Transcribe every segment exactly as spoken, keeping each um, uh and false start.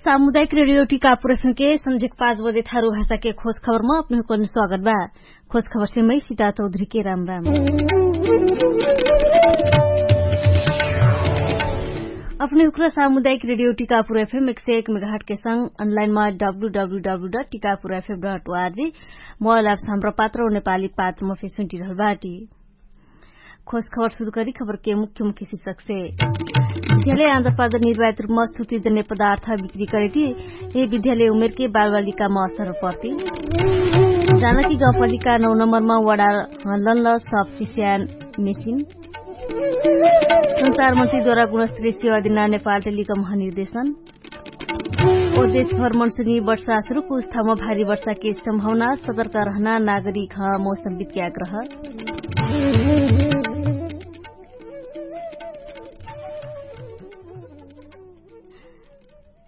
सामुदायिक रेडियो टिकापुर एफएम के संझेक पाँच बजे थारु भाषा के खोज खबर म अपने हुकन स्वागत बा। खोज खबर से मै सीता चौधरी के राम राम। अपने हुक्रा सामुदायिक रेडियो टिकापुर एफएम एक सय एक मेगाहट के संग अनलाइन मा W W W dot Tikapur FM dot ORG mobile apps Hamro Patro नेपाली पात्र म फेसुन्टी रहल बाटी। खोज खबर सुरु करी खबर के मुख्य मुख्य शीर्षक से। विद्यालय आन्जर पाजर निर्वाहित रूपमा सुर्ती जन्य पदार्थ बिक्री करेटी। ए विद्यालय उमेर के बालबालिका मा असर पर्ती। जानकी गाउँपालिका नौ नम्बर मा वडा लनल सब चिस्यान मेसिन। संचार मन्त्री द्वारा गुणस्त्री सेवा दिना नेपाल टेलिकम ह निर्देशन। ओ देशभर मनसुनी वर्षा सुरुक उस्थामा भारी वर्षा के सम्भावना सतर्क रहना नागरिक ह मौसम विज्ञाक रह।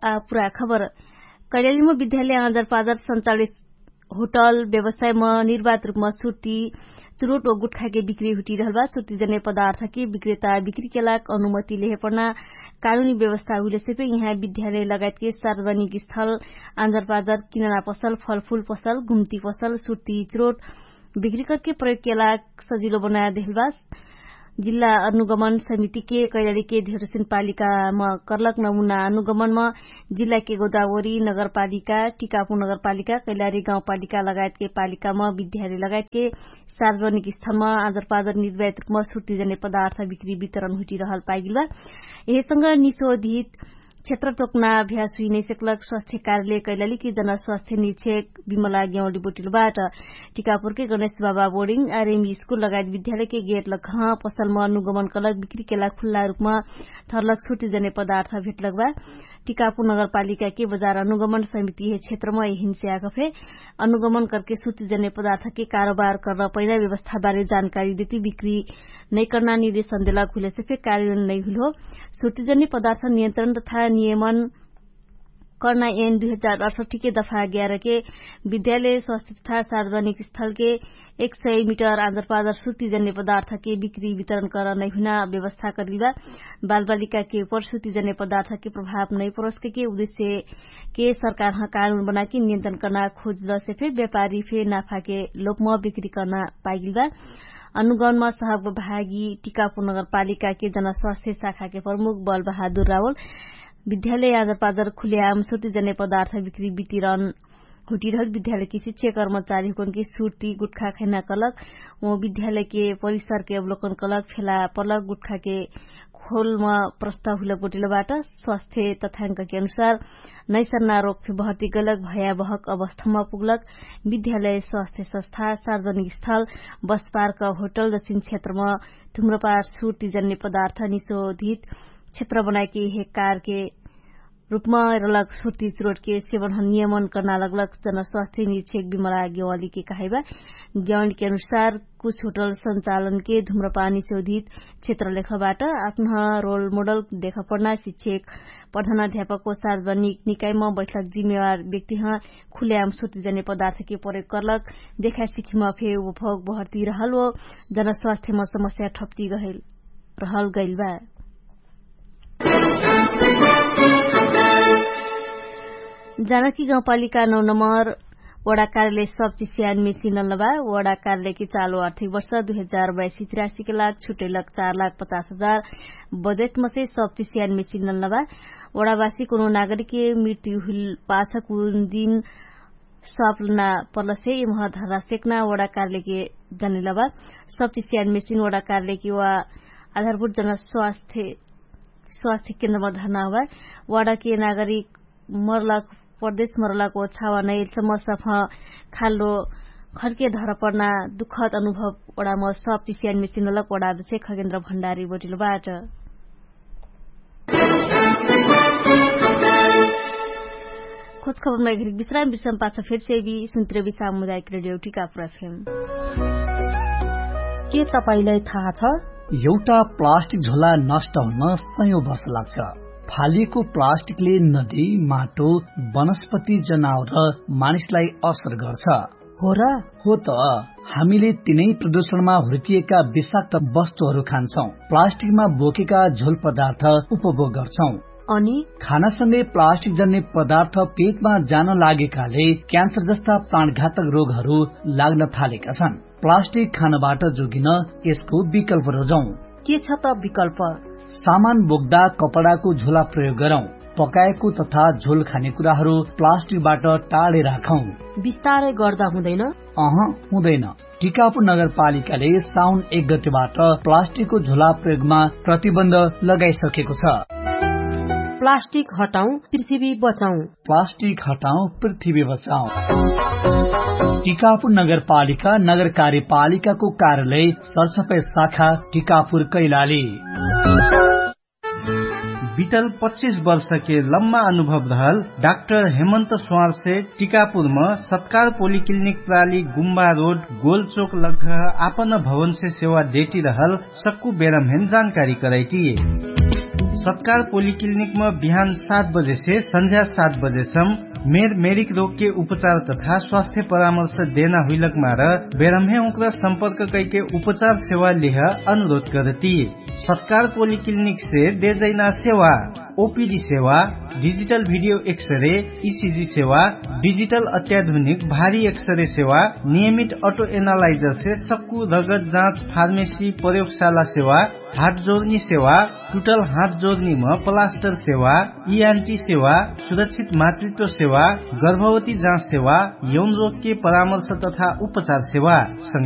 आ पुरा खबर। कैलालीमा विद्यालय आँजर पाँजर सञ्चालित होटल व्यवसायमा निर्वात रूपमा सुर्ती चुरोट व गुटखाके बिक्री हुटिरहल बा। सुर्ती जने पदार्थके विक्रेता बिक्रीके लाग अनुमति लेहे पर्ना कानुनी व्यवस्था हुइलेसे फे यहाँ विद्यालय लगायतके सार्वजनिक स्थल आँजर पाँजर किनना पसल फलफुल पसल घुम्ती पसल सुर्ती चुरोट बिक्री करके प्रयोगके लाग सजिलो बनाया देहल बा। जिल्ला अनुगमन समितिके कैलालीके धेरोसिन पालिकामा कर्लक नमुना अनुगमनमा जिल्लाके गोदावरी नगरपालिका टिकापु नगरपालिका कैलाली गाउँपालिका लगायतके पालिकामा विद्यालय लगायतके सार्वजनिक स्थलमा आँजर पाँजर निर्वाहित रूपमा सुर्ती जने पदार्थ बिक्री वितरण हुइटिरहल पाइगिल बा। यहेसँग निसोधित क्षेत्र तोक्ना अभ्यास हुइनै सेक्लक स्वास्थ्य कार्यालय कैलाली कि जन स्वास्थ्य निक्षेक विमला गेवाली बोटिल बाट। टिकापुरके गणेश बाबा बोर्डिङ आरएम स्कुल लगायत विद्यालयके गेट लकह पसलमा अनुगमन कलक बिक्रीके लाग खुल्ला रूपमा थर्लक सुर्ती जने पदार्थ भेटलक बा। टिकापुर नगरपालिकाके बजार अनुगमन समिति हे क्षेत्रमा यहिन्से आगफे अनुगमन करके सुर्ती जने पदार्थके कारोबार कर्न पैना व्यवस्थाबारे जानकारी देती बिक्री नैकर्ना निर्देशन देलक हुइलेसे फे कार्यन नैहुइल हो। सुर्ती जने पदार्थ नियन्त्रण तथा नियमन कर्ना एन दुई हजार अठसठीके दफा ग्यारके विद्यालय स्वास्थ्य तथा सार्वजनिक स्थलके एक सय मिटर आँजर पाँजर सुर्ती जने पदार्थके बिक्री वितरण कर्न नैहुइना व्यवस्था करिल बा। बालबालिकाके उपर सुर्ती जने पदार्थके प्रभाव नैपरोसके उद्देश्यके सरकारह कानुन बनाके नियन्त्रण कर्ना खोजलसे फे व्यापारी फे नाफाके लोपम बिक्री कर्ना पाइगिल बा। अनुगमनमा सहब भागी टिकापुर नगरपालिकाके जन स्वास्थ्य शाखाके प्रमुख बल बहादुर रावल विद्यालय आँजर पाँजर खुल्याम सुर्ती जने पदार्थ बिक्री वितरण हुटिरहल विद्यालयके शिक्षक कर्मचारी हुकनके सुर्ती गुटखा खैना कलक व विद्यालयके परिसरके अवलोकन कलक फेला पलक गुटखाके खोलमा प्रस्ताव हुइलक बोटिल बाट। स्वास्थ्य तथ्यांकके अनुसार नैसर्ना रोग फे भर्ती गलक भयावहक अवस्थामा पुगलक। विद्यालय स्वास्थ्य संस्था सार्वजनिक स्थल बसपार्क होटल दक्षिण क्षेत्रमा धुम्रपार सुर्ती जन्य पदार्थ निषोधित क्षेत्र बनाएके हे कारके रूपमा रलक सुर्ती चुरोटके सेवन नियमन कर्ना लगलक जन स्वास्थ्य निक्षेक विमला गेवालीके कहाइबा। गेवालीके अनुसार कुछ होटल सञ्चालनके धुम्रपानी शोधित क्षेत्र लेखबाट आत्मह रोल मोडल देखपर्ना शिक्षक प्रधान अध्यापक व सार्वजनिक निकाइम बैठक जिम्मेवार व्यक्तिह खुल्याम सुर्ती जने पदार्थके प्रयोग कर्लक देखा सिखिम फे उपभोग बहर्ती रहल व जन स्वास्थ्यम समस्या ठप्ती गहेल रहल गैल बा। जानकी गाउँपालिका नौ नम्बर वडा कार्यालय सब चिस्यान मेसिन नलबा। वडा कार्यालयके चालु आर्थिक वर्ष दुई हजार बयासी तिरासीके लाग छुटैलक चार लाख पचास हजार बजेटमसे सब चिस्यान मेसिन नलबा। वडावासी कोनो नागरिकके मृत्यु हुइल पाछकुन दिन सप्लना पर्लसे यमह धर्रा सेक्ना वडा कार्यालयके जनिलबा। सब चिस्यान मेसिन वडा कार्यालयके वा आधारभूत जन स्वास्थ्य स्वास्थ्य केन्द्रमा धर्ना हुआ। वाडाके नागरिक मरलक प्रदेश मरलक ओ छावा नैल समस्या फँ खाल्लो खर्के धर पर्ना दुःखद अनुभव वडाम सब चिस्यान मेसिन लक वडा अध्यक्ष खगेन्द्र भण्डारी बोटिलो बाट। खोज खबरमा एक हरिक विश्राम विश्राम पाछ फेर सेवी सुन्त्रेवी सामुदायिक रेडियो टिकापुर एफएम। के तपाईंलाई थाहा छ? एउटा प्लास्टिक झोला नष्ट हुन सयौं वर्ष लाग्छ। फालिएको प्लास्टिकले नदी, माटो, वनस्पति, जनावर र मानिसलाई असर गर्छ। हो र? हो त। हामीले तिनै प्रदूषणमा हुर्किएका विषाक्त वस्तुहरू खान्छौं, प्लास्टिकमा बोकेका झोल पदार्थ उपभोग गर्छौं। अनि खानासँगै प्लास्टिक जन्ने पदार्थ पेटमा जान लागेकाले क्यान्सर जस्ता प्राणघातक रोगहरू लाग्न थालेका छन्। प्लास्टिक खानबाट जोगिन यसको विकल्प रोजौं। के छ त विकल्प? सामान बोक्दा कपडाको झोला प्रयोग गरौं। पकाएको तथा झोल खाने कुराहरू प्लास्टिकबाट टाढे राखौं। विस्तारै गर्दा हुँदैन? अह, हुँदैन। टिकापुर नगरपालिकाले साउन एक गतिबाट प्लास्टिकको झोला प्रयोगमा प्रतिबन्ध लगाइसकेको छ। प्लास्टिक हटाउँ, पृथ्वी बचाउँ। प्लास्टिक हटाउँ, पृथ्वी बचाउँ। टिकापुर नगरपालिका नगर कार्यपालिकाको कार्यालय सरसफाइ शाखा टिकापुर कैलाली। बितल पच्चिस वर्षके लम्मा अनुभव रहल डाक्टर हेमन्त स्वारसे टिकापुरम सत्कार पोलिक्लिनिक प्राली गुम्बा रोड गोलचोक लग्घह आपन भवनसे सेवा डेटी रहल सक्कु बेरमहेन जानकारी करैटी। सत्कार पोलिक्लिनिकम बिहान सात बजेसे सन्झ्या सात बजेसम मेर मेरिक रोगके उपचार तथा स्वास्थ्य परामर्श देना हुइलक मार बेरमहे उक्र सम्पर्क कैके उपचार सेवा लेह अनुरोध करती। सत्कार पोलिक्लिनिकसे देजैना सेवा ओपिडी सेवा, डिजिटल भिडियो एक्सरे, इसिजी सेवा, डिजिटल अत्याधुनिक भारी एक्सरे सेवा, नियमित अटो एनालाइजरसे सक्कु रगत जाँच फार्मेसी प्रयोगशाला सेवा, हाटजोर्नी सेवा, टुटल हाटजोर्नीम प्लास्टर सेवा, इआन्टी सेवा, सुरक्षित मातृत्व सेवा, गर्भवती जाँच सेवा, यौनरोगके परामर्श तथा उपचार सेवा।